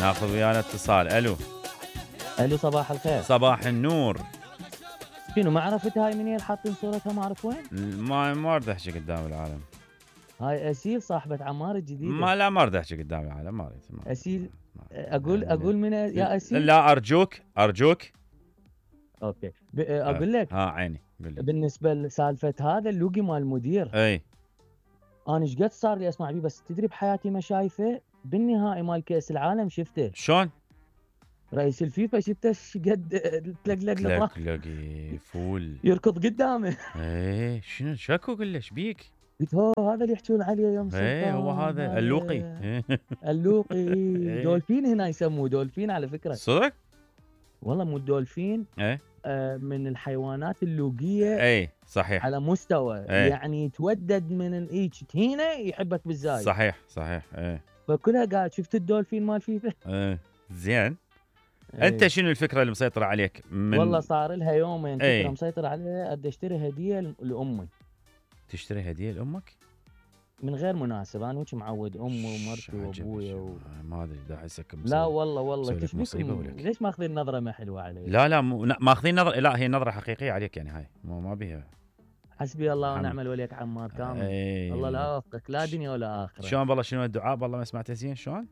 ناخذ ويانا اتصال. الو صباح الخير. صباح النور. شنو ما عرفت هاي منين حاطين صورتها ما اعرف وين؟ ما اريد احكي قدام العالم. هاي اسيل صاحبة عمار الجديدة. لا ما اريد احكي قدام العالم، ما اريد. اسيل اقول من يا اسيل؟ لا ارجوك. اوكي اقول لك. عيني قل لي. بالنسبة لسالفة هذا اللوقي مال المدير. اي انا ايش قد صار لي اسمع بيه، بس تدري بحياتي ما شايفه. بالنهائي مال كأس العالم شفته. شلون؟ رئيس الفيفا شفته ايش قد تلقلق فول يركض قدامه. ايه شنو شكو؟ قل له ايش بيك؟ قلت هو هذا اللي يحجون عليه يوم سلطان. ايه هو هذا اللوقي. اللوقي دولفين هنا يسموه دولفين على فكرة. صدق؟ والله مو الدولفين. ايه من الحيوانات اللوقية. ايه صحيح. على مستوى ايه. يعني يتودد من الايج هنا يحبك بالزايد. صحيح ايه. فكلها قاعد شفت الدولفين مال فيفا. ايه زين. ايه. انت شنو الفكرة اللي مسيطرة عليك؟ والله صار لها يومين ايه. فكرة مسيطرة عليها. ادي اشتري هدية لأمي. تشتري هدية لأمك؟ من غير مناسبة. انا وش معود امي ومرتي وابويا ما ادري دا احسك لا والله مصيبة ليش ماخذين نظرة ما حلوة علي؟ لا ماخذين نظرة. لا هي نظرة حقيقية عليك يعني. هاي ما بيها. حسبي الله ونعم الوليك عمار كامل. الله لا يوفقك لا دنيا ولا آخرة. شلون والله؟ شنو الدعاء؟ والله ما سمعته زين. شلون؟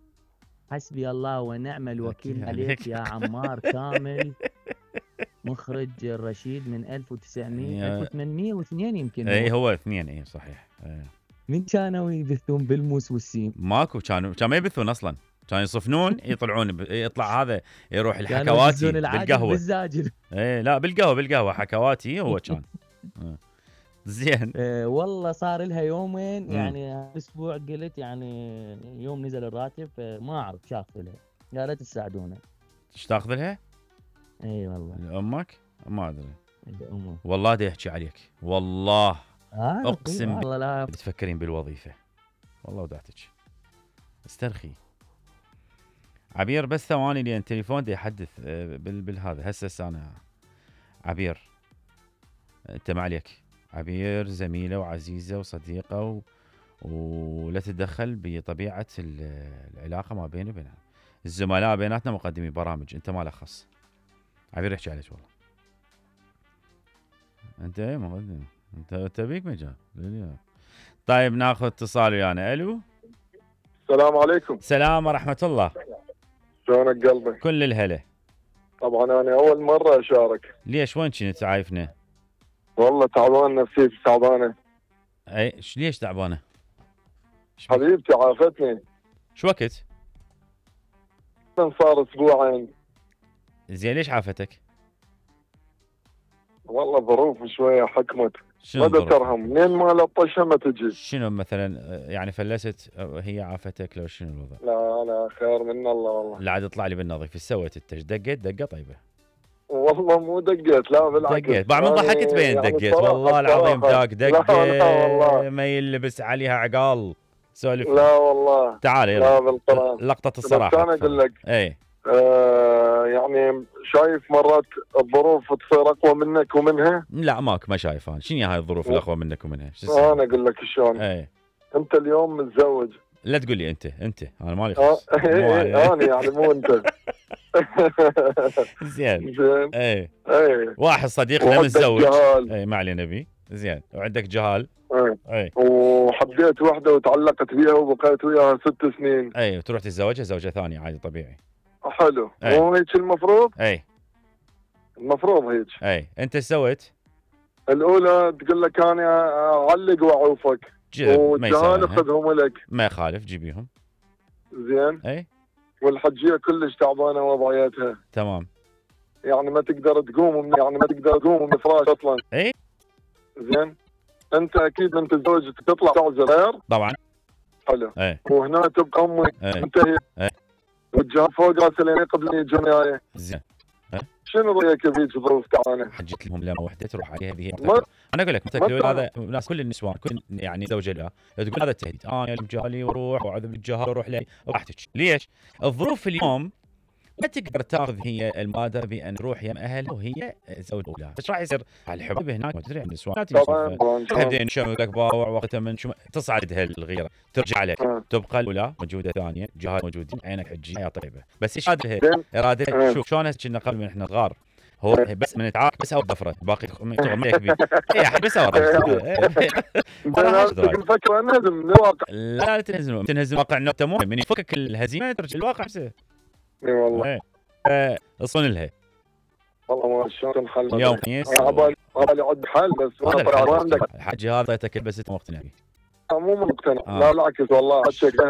حسبي الله ونعم الوكيل عليك يا عمار كامل. مخرج الرشيد من 1802 يمكن. اي هو 2. اي صحيح. من كانوا يبثون بالموس والسيم؟ ماكو. كانوا ما يبثون اصلا. كانوا يصفنون يطلعون يطلع هذا يروح الحكواتي بالقهوه بالزاجل. اي لا بالقهوه حكواتي هو كان. زين. والله صار لها يومين يعني اسبوع قلت يعني يوم نزل الراتب ما اعرف شو اخذ لها. يا ريت تساعدونا. ايش تاخذ لها؟ اي والله. لامك؟ ما ادري. لامك. والله دا يحكي عليك والله. اقسم والله لا تفكرين بالوظيفه والله ودعتك. استرخي عبير بس ثواني لان تليفون دي يحدث بالهذا. هسه انا عبير انت ما عليك. عبير زميله وعزيزه وصديقه ولا تتدخل بطبيعه العلاقه ما بيني وبينها. الزملاء بيناتنا مقدمي برامج، انت ما لك خص. عبير يحكي عليك والله. انت ايه مقدم. انت بيك مجال. طيب ناخذ اتصال ويانا. الو السلام عليكم. السلام ورحمه الله. شلونك قلبي؟ كل الهلا. طبعا انا اول مره اشارك. ليش وين كنت عايفنا؟ والله تعبان نفسيتي تعبانه. اي ليش تعبانه؟ حبيبتي عافتني. شو وقت؟ صار اسبوعين. زين ليش عافتك؟ والله ظروف شويه حكمت. شنو ما ترهم منين ما لطشها ما تجي. شنو مثلا يعني فلست هي عافتك لو شنو الوضع؟ لا خير من الله والله. لا عاد اطلع لي بالنظيف. ايش سويت انت؟ دقيت دقه طيبه؟ والله مو دقيت لا بالعكس. دقيت بعد ما ضحكت بين يعني دقيت والله العظيم ذاك دقه والله. ما يلبس عليها عقال. سولف. لا والله. تعال لا بالقرآن. لقطه الصراحه. انا اقول لك. اي يعني شايف مرات الظروف تصير اقوى منك ومنها. لا ماك ما شايف انا. شنو هاي الظروف الاقوى منك ومنها؟ انا اقول لك شلون. انت اليوم متزوج. لا تقول لي انت انا مالي خص. انا يعني مو انت. زين. اي واحد صديقنا متزوج. اي ما علينا بيه. زين وعندك جهال. اي وحبيت وحده وتعلقت بيها وبقيت وياها 6 سنين. اي وتروح تتزوجها زوجة ثانية عادي طبيعي. حلو. مو هيك المفروض؟ المفروض هيك. انت ايش سويت؟ الاولى تقول لك انا اعلق واعوفك والجهال خذهم لك. ما يخالف جيبيهم. زين. والحجيه كلش تعبانه وضعيتها. تمام. يعني ما تقدر تقوم من الفراش اصلا. زين. انت اكيد من تتزوج تطلع تعزل غير. طبعا. حلو. وهنا تبقى امي. انت والجهال فوق راسي لين قبل يجون وياي. زين. شنو رايك بيك ظروف تعبانه؟ حجيت لهم لما وحده تروح عليها به. انا اقول لك هذا الناس كل النسوان كل يعني زوجة لها تقول هذا التهديد. انا جالي واروح واعذب الجهال واروح لي راحتك. ليش؟ الظروف اليوم ما تقدر تاخذ هي المبادره بان تروح يم اهلها وهي زوج اولاد، ايش راح يصير على الحب هناك؟ ما تدري عن النسوان طبعا بعدين شمك باوع وقتها من تصعد الغيره ترجع لك تبقى الاولى موجوده ثانيه جهات موجودين عينك حجي حياه طيبه. بس ايش اراده شوف شلون كنا قبل من احنا صغار هو بس من تعاق بس او ضفره باقي تغميك بيه اي بس او الفكره نهزم من الواقع. لا تنهزم الواقع انه تموت من يفكك الهزيمه ترجع الواقع نفسه. اي والله اصون لها والله ما شلون تنحل اليوم خميس عبالي عد حل بس ما عندك الحاج هذا تكل بس مقتنع مو مقتنع لا بالعكس والله